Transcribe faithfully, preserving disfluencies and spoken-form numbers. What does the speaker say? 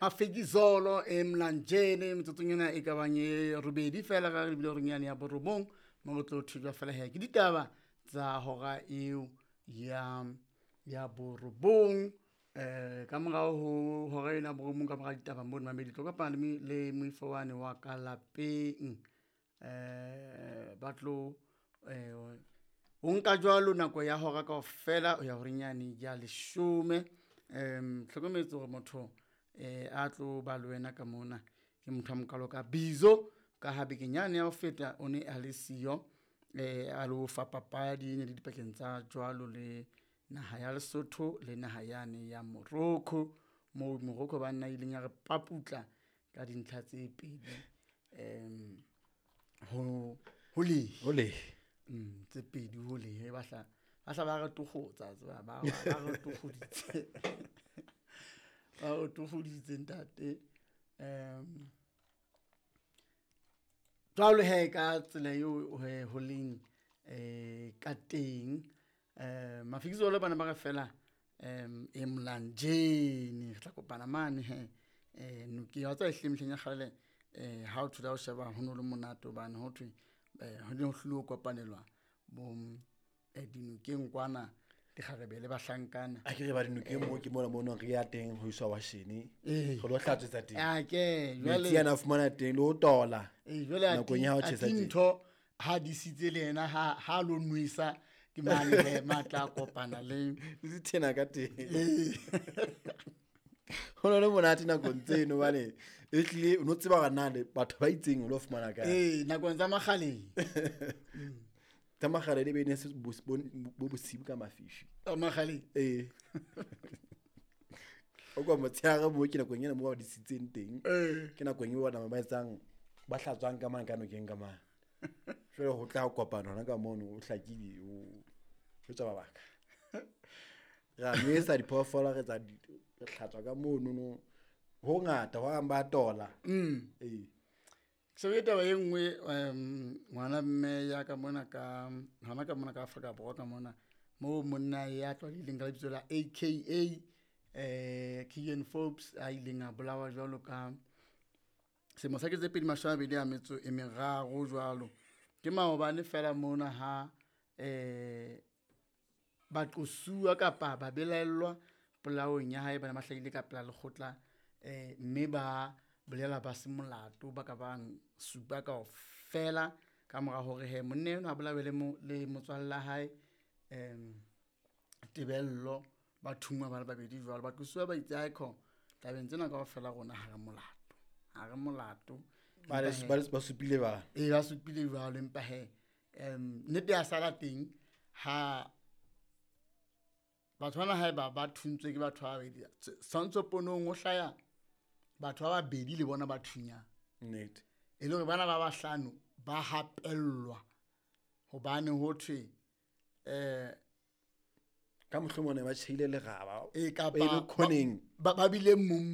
Mafikizolo e Mlanjeni metsotsong ena e ka bang e robedi fela ka re bile horeng yane ya borobong mo re tlo thujwa fela he ke ditaba tsa hora eo ya ya borobong. Eh ka morao ho hora ena ya borobong ka mora ditaba mono mamedi tlo kopana le le moifo wane wa ka lapeng. Eh ba tlo eh o nka jwalo nako ya hora kaofela ho ya horeng yane ya leshome. Um hlokometse hore motho eh a tlo ba le wena ka mona ke motho a mokalo ka Bizo ka ha bekeng yane ya ho feta o ne a le siyo, eh a lo fa papadi e ne le dipakeng tsa jwalo le naha ya Lesotho le naha yane ya Morocco. Moo Morocco banna ileng ya re paputla ka dintlha tse pedi um ho ho lehe. Ho lehe. Mm, tse pedi ho lehe ba hla ba hla ba re tokgotsa tseba ba ba re tokgoditse. Ba re tokgoditse ntate. Um jwalo he ka tsela eo he ho leng eh ka teng. Eh Mafikizolo bana ba re fela um e Mlanjeni re tla kopana mane he eh nokeng wa tseba ehlile mehleng ya kgale eh ha o thola o sheba ho no le monate hobane ho thwe eh ho ne ho hlile ho kopanelwa bo eh dinokeng kwana dikgarebe le bahlankana. A ke re ba dinokeng moo ke mona mo re ya teng ho iswa washene. Ee. Re lo hlatswetsa teng. A ke jwale Metsi ana a fumana teng le ho tola. Ee, jwale a Nakong ya ho ti- a tjhesa teng. ntho ha disitse le yena ha ha lo nwesa ke mane he matla a kopana le Le dithena ka teng. Ee. Ho no le monate nakong tseno hobane e hlile o no tseba hore na le batho ba itseng o lo fumana kae. Ee, nakong tsa makgaleng. Tsa makgale di be ne se bo bo bosibu ka mafifi. Tsa makgaleng. Ee. O kwa motshehare moo ke nakong ena moo ba disitseng teng. Ee. Ke nakong eo bona ba etsang ba hlatswang ka mane ka nokeng ka mane. Jwale ho tla kopana hona ka mono o hlakile o jwetsa mabaka. Re a nwesa diphoofolo re tsa di re hlatswa ka mono no. Ho ngata ho bang ba tola. Mm. Ee. Shebe taba e nngwe um ngwana mme ya ka mona ka hona ka mona ka Afrika Borwa ka mona moo monna ya tlwaelehileng ka lebitso la A K A eh Keegan Forbes a ileng a bolawa jwalo ka selemo sa kete tse pedi mashome a mabedi a metso e meraro jwalo. Ke maobane fela mona ha eh baqosuwa kapa ba belaellwa polaong ya hae ba ne ba hlahile ka pela lekgotla eh mme ba bolela ba se molato ba ka bang supa kaofela ka mora hore he monna enwa a bolawe le mo, le motswalle wa hae em Tebello ba thungwa ba le babedi jwalo. Baqosuwa ba itse haekho tabeng tsena kaofela rona ha re molato, ha re molato. Ba le Empa he ba le ba supile ba. Ee, ba supile jwalo empa he em nnete ya sala teng ha batho bana haeba ba thuntswe ke batho ba babedi tshwantsho ponong ho hlaya batho ba babedi le bona ba thunyang. Nnete. E le hore bana ba bahlano ba hapellwa hobane ho thwe eh ka mohlomong ne ba tjheile leraba e kapa ba ile khoneng ba, ba bile mong